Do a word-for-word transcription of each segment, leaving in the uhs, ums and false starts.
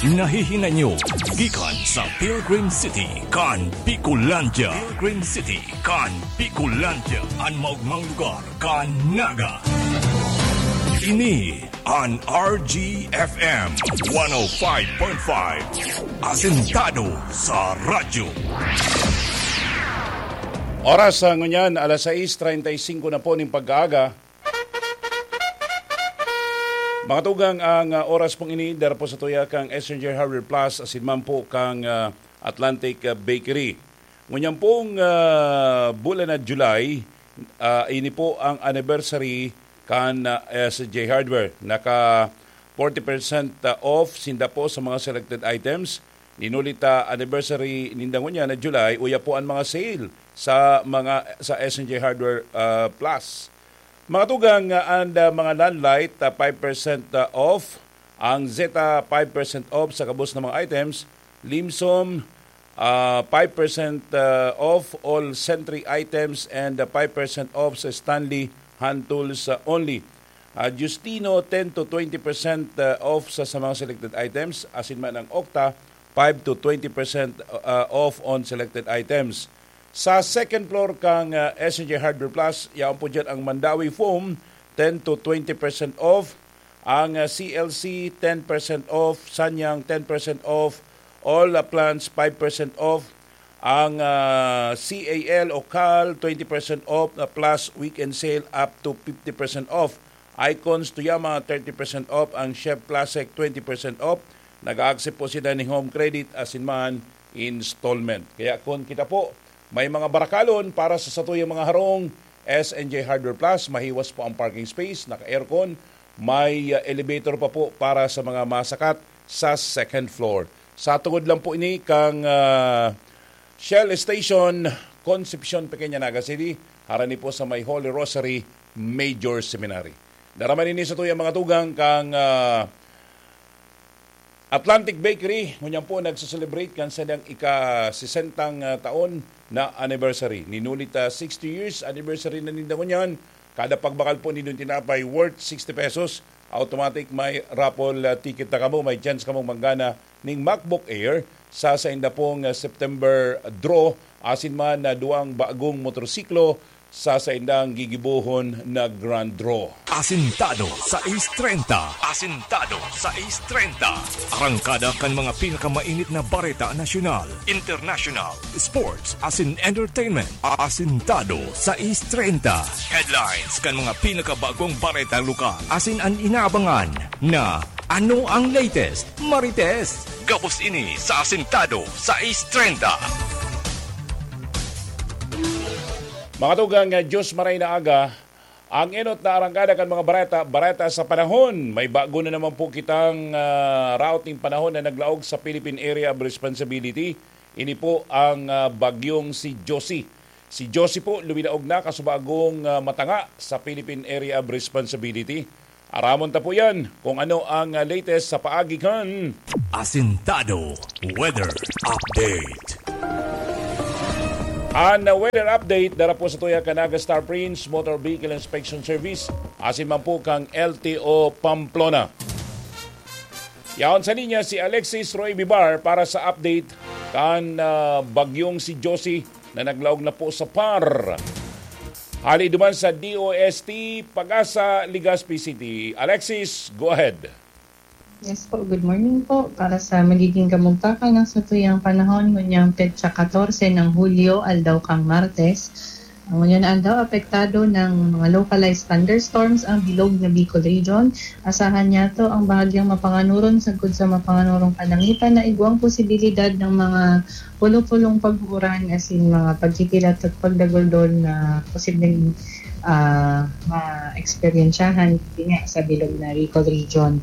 Nahihinay nyo gikan sa Pilgrim City kan Bicolandia. Pilgrim City kan Bicolandia, an maogmang lugar kan Naga. Ini an R G F M one oh five point five, asentado sa radyo. Oras sa ngunyan, alas sais treinta y cinco na po ning pagkaaga. Mga tugang, ang, ah, oras pong ini, dara po sa tuya kang S N J Hardware Plus, asin man po kang, ah, Atlantic, ah, Bakery. Ngunyan pong, ah, bulan na July, ah, ini po ang anniversary kan, ah, S N J Hardware. Naka forty percent off sinda po sa mga selected items. Ninuli ta anniversary ninda ngunyan na July, uya po ang mga sale sa mga, sa S N J Hardware, ah, Plus. Mga tugang, ah, and, ah, mga Landlight, ah, five percent, ah, off. Ang Zeta, five percent off sa gabos na mga items. Limsom, ah, five percent, ah, off all Sentry items and, ah, five percent off sa Stanley hand tools, ah, only. Ah, Justino, ten to twenty percent, ah, off sa, sa mga selected items. Asin man ang Okta, five to twenty percent, ah, off on selected items. Sa second floor kang, ah, S N J Hardware Plus, yaon po dyan ang Mandawi Foam, ten to twenty percent off. Ang, ah, C L C, ten percent off. Sanyang, ten percent off. All, ah, plants, five percent off. Ang, ah, C A L o Cal, twenty percent off, ah, plus weekend sale up to fifty percent off. Icons, Tuyama, thirty percent off. Ang Chef Classic, twenty percent off. Nag-a-accept po sila ning home credit asin man installment. Kaya kun kita po may mga barakalon para sa satuyang mga harong, S N J Hardware Plus, mahiwas po ang parking space, naka-aircon, may, ah, elevator pa po para sa mga masakat sa second floor. Sa tungod lang po ini kang, ah, Shell Station, Concepcion, Pequeña, Naga City, harani po sa may Holy Rosary Major Seminary. Dara man ini satuyang mga tugang kang, ah, Atlantic Bakery, ngunyan po nagse-celebrate kan saindang ika-sesentang, ah, taon na anniversary. Ninuli ta sixty years anniversary na ninda ngunyan. Kada pagbakal po nindong tinapay worth sixty pesos, automatic may raffle, ah, ticket na kamo, may chance kamong manggana ning MacBook Air sa sainda pong, ah, September draw, asin man na duwang bagong motorsiklo sa saindang gigibohon na grand draw. Asintado sa Ace treinta. Asintado sa Ace treinta. Arangkada kan mga pinakamainit na bareta nasyonal, international, sports, asin entertainment. Asintado sa Ace treinta. Headlines kan mga pinakabagong bareta lokal. Asin an inaabangan na ano ang latest, Marites. Gabos ini sa Asintado sa Ace treinta. Mga tugang, ah, Diyos maray na aga. Ang enot na arangkada kan mga bareta, bareta sa panahon. May bago na naman po kitang, ah, routing panahon na naglaog sa Philippine Area of Responsibility. Ini po ang, ah, bagyong si Josie. Si Josie po luminaog na kasubagong, ah, matanga sa Philippine Area of Responsibility. Aramon ta po yan kung ano ang, ah, latest sa paagi kan Asintado Weather Update. An weather update dara po sa tuya kan Naga Star Prince Motor Vehicle Inspection Service, asin man po kang L T O Pamplona. Yaon sa linya si Alexis Roy Bibar para sa update kan, ah, bagyong si Josie na naglaog na po sa par. Hali duman sa D O S T Pag-asa, Legazpi City. Alexis, go ahead. Yes po, good morning po. Para sa magiging kamugtakan ng satuyang panahon, ngunyang petsa katorse ng Hulyo, aldaw kang Martes, ang ngunyan na aldaw apektado ng mga localized thunderstorms ang bilog na Bicol Region. Asahan niyato ang bahagyang mapanganuron sagkod sa mapanganurong kalangitan na igwang posibilidad ng mga pulo-pulong pag-uuran asin mga pagkikilat at pagdaguldol na posibleng, ah, maeksperiensyahan, yun nga, sa bilog na Bicol Region.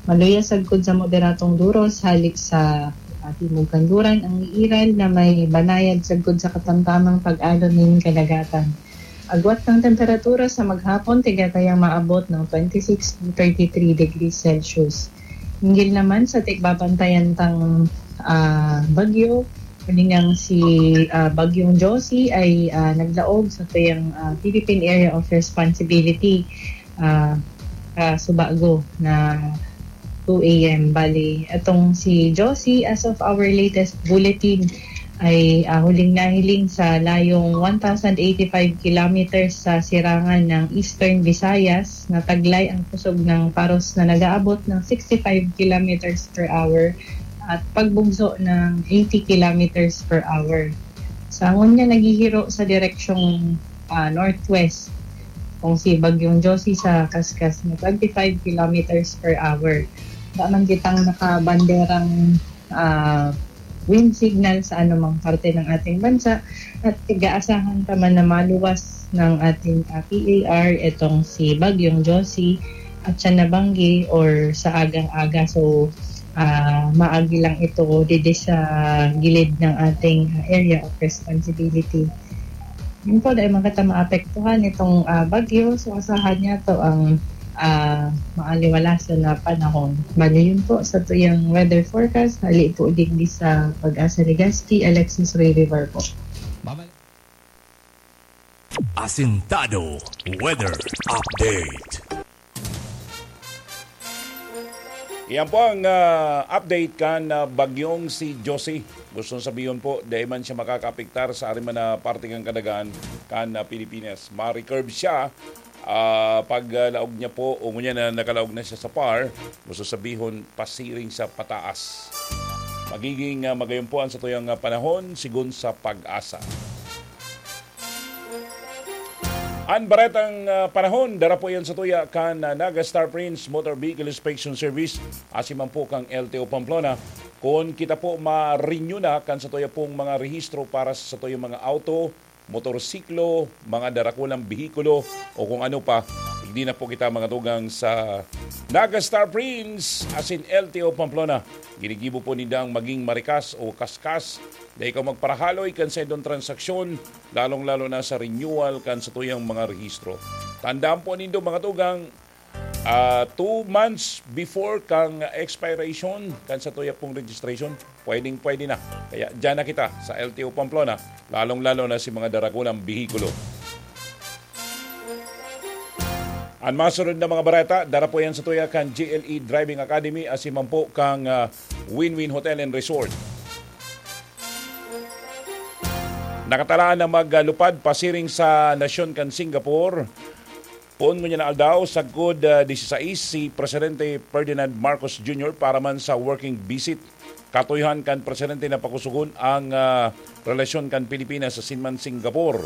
Maluya sagkod sa moderatong duros halik sa, ah, timog kanluran ang iiral na may banayad sagkod sa katamtamang pag-alon nin kadagatan. Agwat kan temperatura sa maghapon, tigatayang maabot ng twenty-six to thirty-three degrees Celsius. Hinggil naman sa tigbabantayan tang, ah, bagyo, kuningang si, ah, Bagyong Josie ay, ah, naglaog sa tuyang, ah, Philippine Area of Responsibility, ah, ah, subago na two a m. Bali, itong si Josie, as of our latest bulletin, ay, ah, huling nahiling sa layong one thousand eighty-five kilometers sa sirangan ng Eastern Visayas, na taglay ang kusog ng paros na nag-aabot ng sixty-five kilometers per hour at pagbugso ng eighty kilometers per hour. Sa ngunyan, naghihiro sa direksyong, ah, northwest, kung si Bagyong Josie sa kaskas na twenty-five kilometers per hour. Wala man kitang nakabanderang, ah, wind signal sa anumang parte ng ating bansa at gaasahan pa man na maluwas ng ating, ah, P A R itong si Bagyong Josie at siya nabanggi or sa agang-aga. So, ah, maagi lang ito didi sa gilid ng ating, ah, area of responsibility. Yun po, dahil man kita maapektuhan itong, ah, bagyo, so asahan niya to ang, ah, maaliwalasan na panahon. Bali, yun po sa tuyang weather forecast, hali po digdi sa Pag-asa Legazpi, Alexis Ray River po. Asintado Weather Update. Iyan po ang, ah, update kan, ah, bagyong si Josie. Gustong sabihon po, dai man siya makakaapektar sa ari man na parte kan kadagaan kan, ah, Pilipinas. Ma-recurve siya, ah, pag, ah, laog niya po, o ngunyan na nakalaog na siya sa par, gusto sabihon, pasiring siya pataas. Magiging, ah, magayon po ang satuyang, ah, panahon, sigon sa Pag-asa. An baretang, ah, panahon, dara po yan sa tuya kan, ah, Naga Star Prince Motor Vehicle Inspection Service, asin man po kang L T O Pamplona. Kun kita po ma-renew na kan sa tuya pong mga rehistro para sa, sa tuyang mga auto, motorsiklo, mga darakulang behikulo, o kung ano pa, hindi na po kita mga tugang sa Naga Star Prince, asin L T O Pamplona. Ginigibo po nindang maging marikas o kaskas na ikaw magparahaloy kan sa indong transaksyon, lalong-lalo na sa renewal kan sa tuyang mga rehistro. Tandaan po nindo, mga tugang, ah, two months before kang expiration kan sa tuya pong registration, pwedeng-pwede na. Kaya dyan na kita sa L T O Pamplona, lalong-lalo na si mga darakulang behikulo. An masunod na mga bareta, dara po yan sa tuya kan G L E Driving Academy, asin man po kang, ah, Win-Win Hotel and Resort. Nakatalaan na maglupad pasiring sa nasyon kan Singapore poon ngunyan na aldaw, sagkod, ah, disisais, si Presidente Ferdinand Marcos Junior para man sa working visit. Katuyohan kan Presidente na pakusugon ang, ah, relasyon kan Pilipinas asin man Singapore.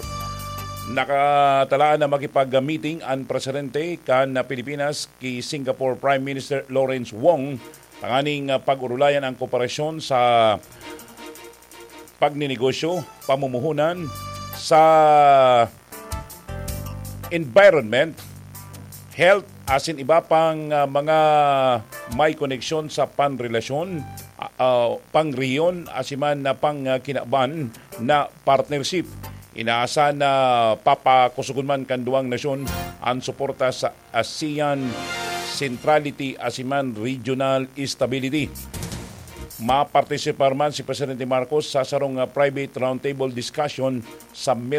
Nakatalaan na makipag-meeting an Presidente kan Pilipinas ki Singapore Prime Minister Lawrence Wong tanganing, ah, pag-urulayan ang kooperasyon sa pagninegosyo, pamumuhunan, sa environment, health, asin iba pang, ah, mga may koneksyon sa panrelasyon, ah, ah, pangrehiyon, asin man na pangkinaban na partnership. Inaasahan na papakusugon man kan duwang nasyon an suporta sa ASEAN centrality asin man regional stability. Mapartisipar man si Presidente Marcos sa sarong, ah, private roundtable discussion sa